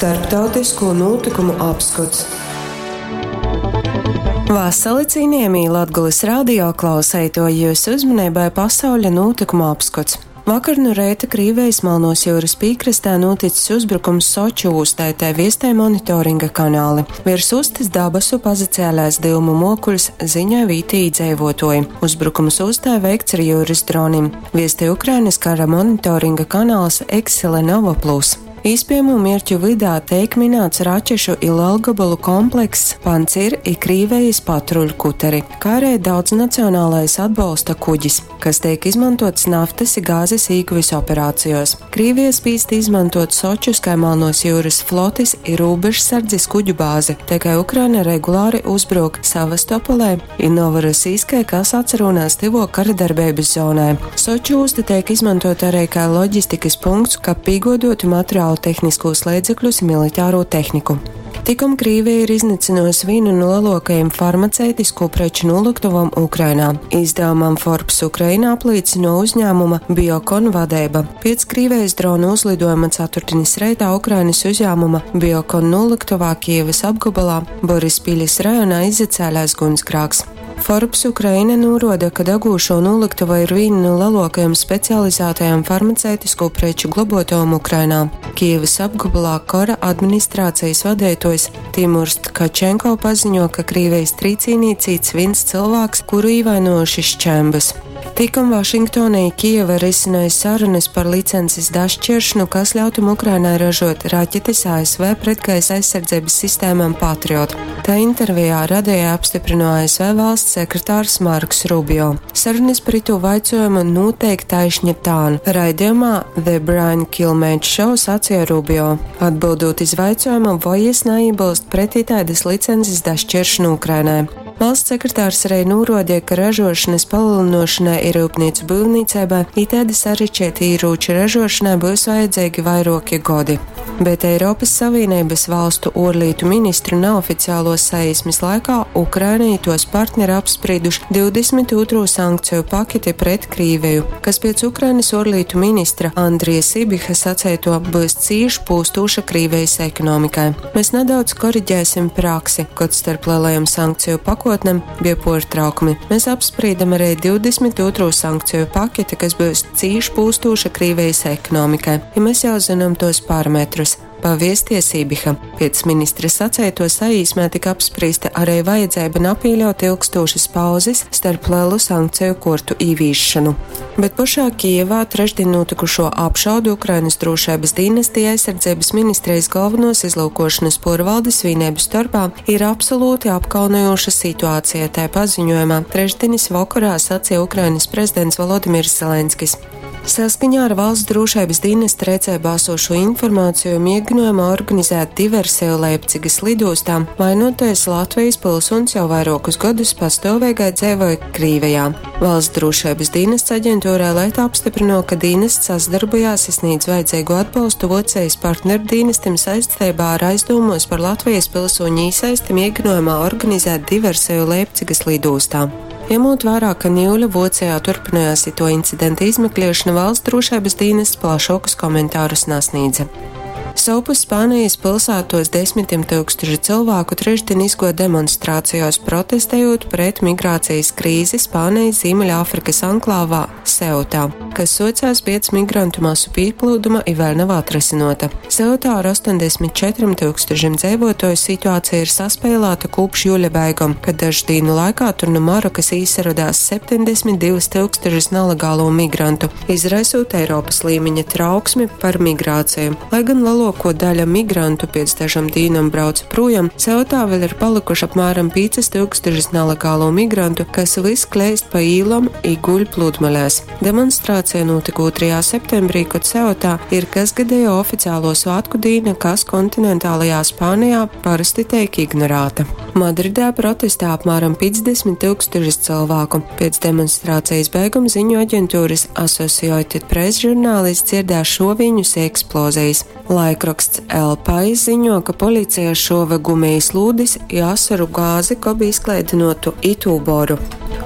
Starptautisko nūtykumu apskots. Vasali, cienījamī Latgales radio klauseitoji, jūsu uzmanībai pasauļa nūtykumu apskots. Vakar nu reita Krīvijas Melnos jūras pīkrastē noticis uzbrukums Soču ūstai, tai viestē monitoringa kanāli. Virs ustas dabasu pazacēlēs dyumu mokuļs, ziņoja vītī iedzīvotoji. Uzbrukums ūstē veikts ar jūras dronim. Viestē Ukrainas kara monitoringa kanāls Excelenova Plus. Īspējamo mierķu vydā teik minēts raķešu i lelgabalu komplekss Pancir i Krīvejas patruļu kuteri, kā arī daudznacionālais atbalsta kuģis, kas tiek izmantots naftas i gāzes īguvis operācijos. Krīvija spīst izmantot Sočus kā Melnos jūras flotis i robežsardzes kuģu bāzi, tikai Ukraina regulāri uzbruk Sevastopolē i Novorosijskai, kas atsarūnās tivo karadarbības zonai. Soču osta tiek izmantota arī kā loģistikas punkts, kab pīgodotu materiālu tehniskos līdzekļus i militāro tehniku. Tikom Krīvija ir iznīcinājusi vienu no lielākajiem farmaceitisko preču noliktuvam Ukrainā. Izdevumam Forbes Ukraina apliecina uzņēmuma Biokon vadība. Pēc Krīvijas drona uzlidojuma ceturtdienas reitā Ukrainas uzņēmuma Biokon noliktuvā Kievas apgabalā Borispiļas rajonā izacēlās gunsgrāks. Forbes Ukraina norāda, ka degūšo noliktuva ir viena no lielākajām specializētajām farmaceitisko preču globotovām Ukrainā. Kievas apgabalā kara administrācijas vadītājs Timurs Tkačenko paziņo, ka Krīvijas trīcīnī cīts viens cilvēks, kuru īvainojuši šķembas. Tikom Vašingtonī Kieva risināja sarunas par licences dašķiršanu, kas ļautu Ukrainai ražot raķetes ASV pretgaisa aizsardzības sistēmām Patriot. Tā intervijā radījā apstiprināja ASV valsts sekretārs Marks Rubio. Sarunas par itu vaicojumu noteikti taišņa tān. Raidījumā The Brian Kilmeade Show sacīja Rubio, atbildot iz vaicojumu, vai es neiebilst pretī tādas licences dašķiršanu Ukrainai. Valsts sekretārs arī norādīja, ka ražošanas palielināšanai ir rūpnīcu būvniecībai, it tāda sarežģīta ieroču ražošanai būs vajadzīgi vairāki gadi. Bet Eiropas Savienības valstu ārlietu ministru neoficiālo saīsmes laikā Ukraina i tos partneri apsprieduši 22. sankciju paketi pret Krīviju, kas pēc Ukrainas ārlietu ministra Andrija Sibiha sacēto būs cīši pūstūša Krīvijas ekonomikai. Mēs nedaudz koriģēsim praksi, kad starp lielajām sankciju pakotnēm bija portraukumi. Mēs apspriedam arī 22. sankciju paketi, kas būs cīši pūstūša Krīvijas ekonomikai, ja mēs jau zinām tos parametrus. Paviesties Ibiha. Pēc ministra sacēto saīsmē tika apspriesta arī vajadzība napīļaut ilgstošas pauzes starp lielu sankciju kortu īvīšanu. Bet pašā Kijevā trešdien notikušo apšaudu Ukrainas drošības dienestī aizsardzības ministrijas galvenos izlūkošanas porvaldes vienību starpā ir absolūti apkaunojoša situācija, tai paziņojumā trešdienas vakarā sacīja Ukrainas prezidents Volodimirs Zelenskis. Saskaņā ar valsts drošības dienesta rēcībā esošo informāciju mēģinājumā organizēt diversiju Leipcigas lidostā, vainotais Latvijas pilsonis jau vairākus gadus pastāvīgai dzīvoja Krīvijā. Valsts drošības dienests aģentūrā Lieta apstiprino, ka dienests sasdarbojās sniedz vajadzīgo atbalstu Vocējas partneru dienestim saistībā ar aizdomos par Latvijas pilsoņu īsaisti mēģinājumā organizēt diversiju Leipcigas lidostā. Ņemot vērā, ka Ņūļa Vocējā turpinājās to incidenta izmeklēšana, valsts drošības dienests plašākus komentārus nesniedza. Sovpus Spānijas pilsētos desmitiem tūkstoši cilvēku trešdien izgoja demonstrācijās protestējot pret migrācijas krīzi Spānijas Ziemeļāfrikas anklāvā Seutā, kas socās pēc migrantu masu pieplūduma i vēl nav atrisinota. Seutā ar 84 tūkstošiem dzīvotoju situācija ir saspēlēta kopš jūļa beigām, kad dažu dienu laikā tur no Marokas īsaradās 72 tūkstošus nelegālo migrantu, izraisot Eiropas līmeņa trauksmi par migrāciju. Lai gan lielāko daļa migrantu pēc dažam dīnam brauca projām, Seutā vēl ir palikuši apmēram 5000 nelegālo migrantu, kas viss kleist pa īlam i guļ pludmalēs. Demonstrācija notika 2. septembrī, kad Seutā ir kasgadējo oficiālo svētku dīna, kas kontinentālajā Spānijā parasti tiek ignorēta. Madridē protestē apmēram 50 tūkstoši cilvēku. Pēc demonstrācijas beiguma ziņu aģentūras Associated Press žurnālists dzirdēja šoviņus eksplozijas. Laikraksts El Pais ziņo, ka policija šova gumijas lūdis i asaru gāzi, ko bija izklaidinotu itūboru.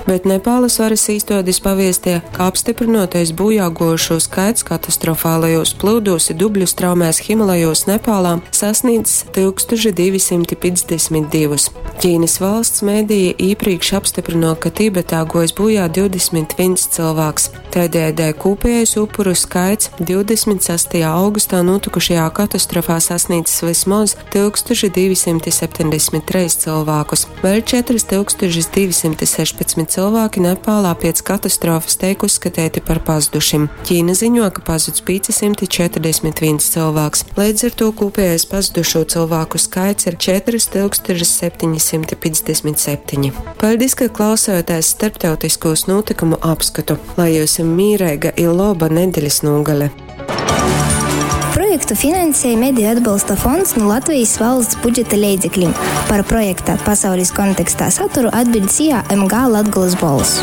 Bet Nepālas varas īstuodis paviestie, ka apstiprinotais bojā gojušo skaits katastrofālajos plūdūs i dubļu straumēs Himalajos Nepālā sasniedzis 1252. Ķīnas valsts mēdīja īpriekš apstiprino, ka Tibetā gojis bojā 21 cilvēks. Tādējādi kopējais upuru skaits 26. augustā notikušajā katastrofā sasniedzis vismaz 1273 cilvēkus. Vēl 4216 cilvēki Nepālā pēc katastrofas teik uzskatīti par pazudušim. Ķīna ziņo, ka pazuds 541 cilvēks. Līdz ar to kopējais pazudušo cilvēku skaits ir 4757. Paldies, ka klausāties starptautiskos notikumu apskatu. Lai jums mīreiga i loba nedeļas nogale! Projektu finansēja Mediju atbalsta fonds no Latvijas valsts budžeta leidzekļiem. Par projekta pasaules kontekstā saturu atbild SIA MG Latgolas Bols.